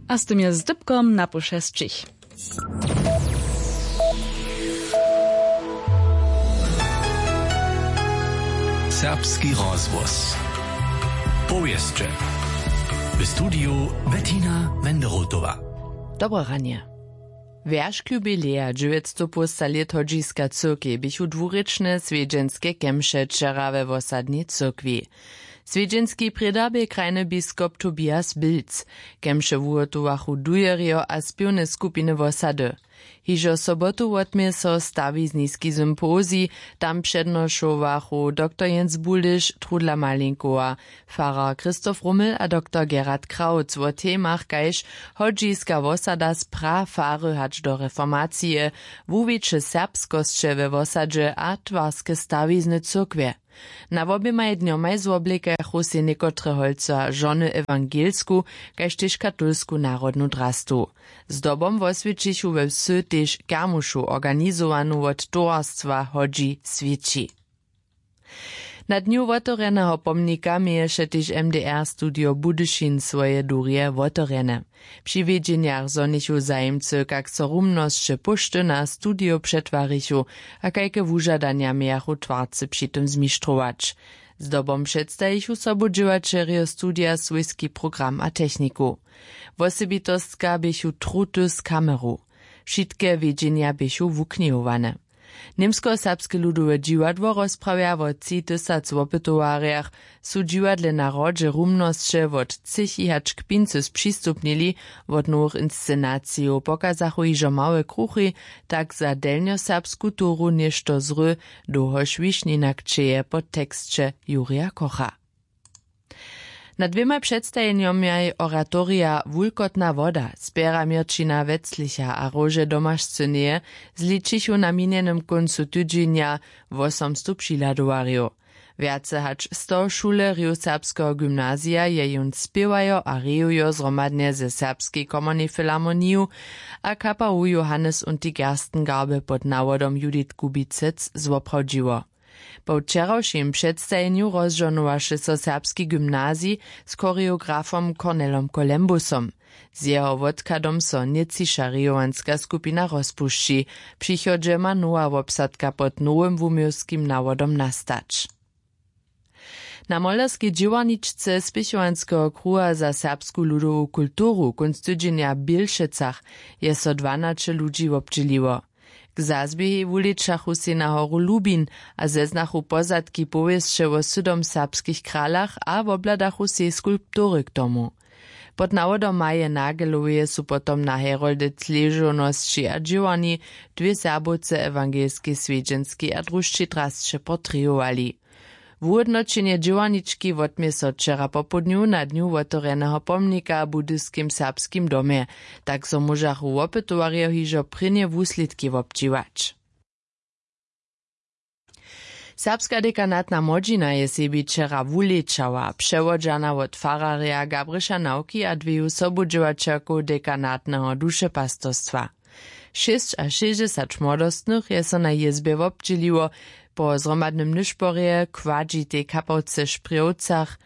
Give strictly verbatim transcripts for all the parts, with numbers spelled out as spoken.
A z tym je z dypkom na pół šesćich. Serbski rozhłos. Powěsće. W studiju Bettina Wenderotowa. Dobre ranje. Wjeršk jubileja dźewjećstow połsta lět hodźiska cyrkej běchu dwurěčne swjedźenske kemše wčera we wosadnej cyrkwi. Swjedźenski prěda bě krajny biskop Tobias Bilc. Kemše wuhotowachu dujerjo a spěwne skupiny wosady. Hižo sobotu wotmě so stawizniski sympozij. Tam přednošowachu doktor Jens Buliš, Trudla Malinkowa, farar Christoph Rummel a doktor Gerhard Krautz wo temach kaž hodźiska wosada z prafary hač do reformacije, wuwiće serbskosće we wosadźe a twarske stawizny cyrkwje. Na woběmaj dnjomaj zwoblikachu sej někotre holca žony ewangelsku kaž tež katolsku narodnu drastu. Zdobom woswětšichu we wsy tež kermušu organizowanu wot towarstwa hodźi swěći. Na dnju wotewrjeneho pomnika měješe tež mdr studio budyšin swoje durje wotewrjene. Při wědźenjach zhonichu zajimcy kak so rumnosće póšty na studio přetwarichu a kajke wužadanja mějachu twarcy při tym zmištrować. Zdobom předstajichu sobudźěłaćerjo studija swójski program a techniku. Wosebitostka běchu truty z kameru. Wšitke wědźenja běchu wuknihowane. Němskoserbske ludowe dźiwadło rozprawja wo tři tysac wopytowarjach. Su dźiwadle na hrodźe rumnosće wot třěchi hač k pincy spřistupnili. Wot nowych inscenacijow pokazachu hižo małe kruchi, tak za delnjoserbsku toru něšto zry, dołhož wišnina kćeje po teksće jurija kocha. Na dwěmaj předstajenjomjaj oratorija wulkotna woda spjera měrćina weclicha a róže domašcyneje zličichu na minjenym kóncu tydźenja wosomstow přihladowarjow. Wjace hač sto šulerjow serbskeho gymnazija je jón spěwajo a rejujo zhromadnje ze serbskej komornej filharmoniju a kaparu johannes und die gerstengarbe pod nawodom judith kubicec zwoprawdźiło. Po wčerawšim předstajenju rozžohnowaše so serbski gymnazij z choreografom cornelom kolembusom. Z jeho wotkadom so nětčiša rejowanska skupina rozpušći. Přichodźe ma nowa wobsadka pod nowym wuměłskim nawodom nastać. Na molerskej dźěłarničce spěchowanskeho kruha za serbsku ludowu kulturu kónc tydźenja w bělšecach je so dwanaće ludźi wobdźěliło. K zazběhej wulečachu sej na horu lubin a zeznachu pozadki powěsće wo sydom serbskich kralach a wobhladachu sej skulptury k tomu. Pod nawodom maje nageloweje su potom na herolde cležownosći a dźěłarni dwě serbowce ewangelskej swjedźenskej a drušćej drasće portrejowali. Wuhódnoćenje dźěłarnički wotmě so wčera popołdnju na dnju wotewrjeneho pomnika w budyskim serbskim domje. Tak zo móžachu wopytowarjo hižo prěnje wuslědki wobdźěłać. Serbska dekanatna młodźina je sebi wčera wulečała přewodźana wot fararja gabriša nawki a dweju sobudźěłaćerkow dekanatneho dušepastostwa. Šěsćašěsćdźesać młodostnych je so na jězbje wobdźěliło. Po zhromadnym nyšporje kładźitej kapałce w šprjowcach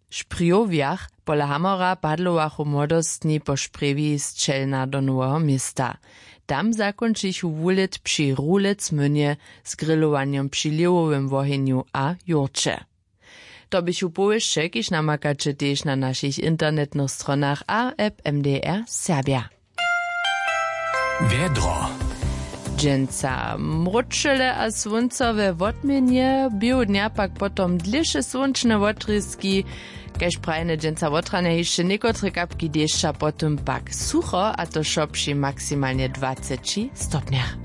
w šprjowjach pola hamora padlowachu młodostni po šprjewi z čelna do noweho města. Tam zakónčichu wulět při rulec mynje z grilowanjom při lěhowym wohenju a jurće. To běchu powěsće kiž namakaće tež na našich internetnych stronach a app mdr serbja. Wjedro. Dźensa mróčele a słónco we wotměnje běhu dnja pak potom dlěše słónčne wotrězki. Kaž prajene dźensa wotranje hišće někotre kapki dešća potom pak sucho a to wšo při maksimalnje dwaceći stopnjach.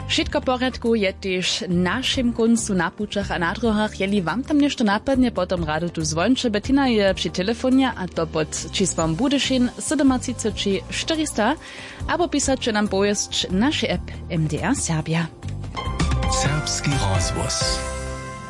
Wšitko w porjadku je tež w našim kóncu na pućach a na dróhach jeli wam tam něšto napadnje potom rady tu zwóńće bettina je při telefonje a to pod čisłom budyšin sydomatřiceći štyrista abo pisaće nam powěsć naše app mdr serbja. Serbski rozhłos.